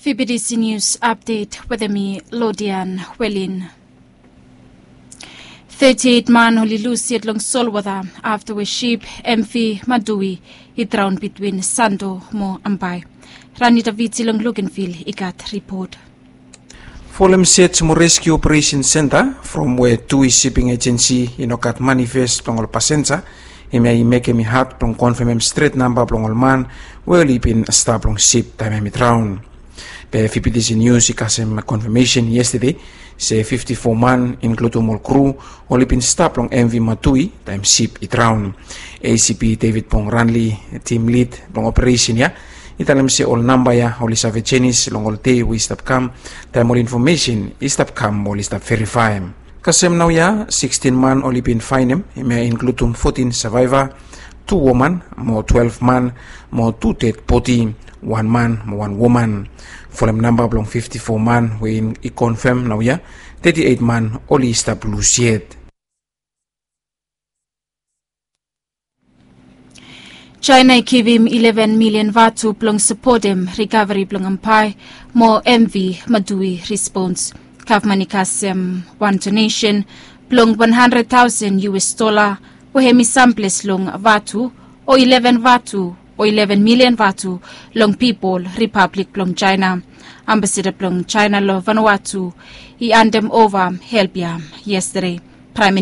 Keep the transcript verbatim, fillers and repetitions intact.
Fibidisi News Update wetem mi, Lodian Welin. Thirty-eight man oli lus yet long solwota afta we sip M V Madui i draon bitwin Sando mo Ambai. Ranita Viti long Lukenvil i gat ripot. Folem Search mo Rescue Operation Center from we Tui Shipping Agency i no gat manifest blong ol pasenja, hemia i mekem i had blong konfemem stret namba blong ol man we oli bin stap long sip taem hem i draon. Be Fibidisi News i kasem konfemesen yestede se fifti fo man, inkludum ol kru, oli bin stap long M V Matui taem sip i draon. A C P David Pong Ranli, tim lid blong operesen ya, i talem se ol namba ya oli save jenis long ol dei we i stap kam, taem ol infomesen i stap kam mo oli stap verifaem. Kasem naoia, sikstin man oli bin faenem, hemia inkludum fotin savaeva, tu woman mo twelef man mo tu ded bodi, wan man mo wan woman. Folem namba blong fifti fo man we i konfem naoia, teti eit man oli stap lus yet. Jaena i givim ileven milian vatu blong sapotem rikaveri blong Ampai mo M V Madui respons. Gavman i kasem wan donesen blong wan handred taosen U S dola we hem i samples long vatu o ileven vatu o ileven milian vatu long pipol Ripablik blong Jaena. Ambasada blong Jaena long Vanuatu i andem ova help ya yestede. Praem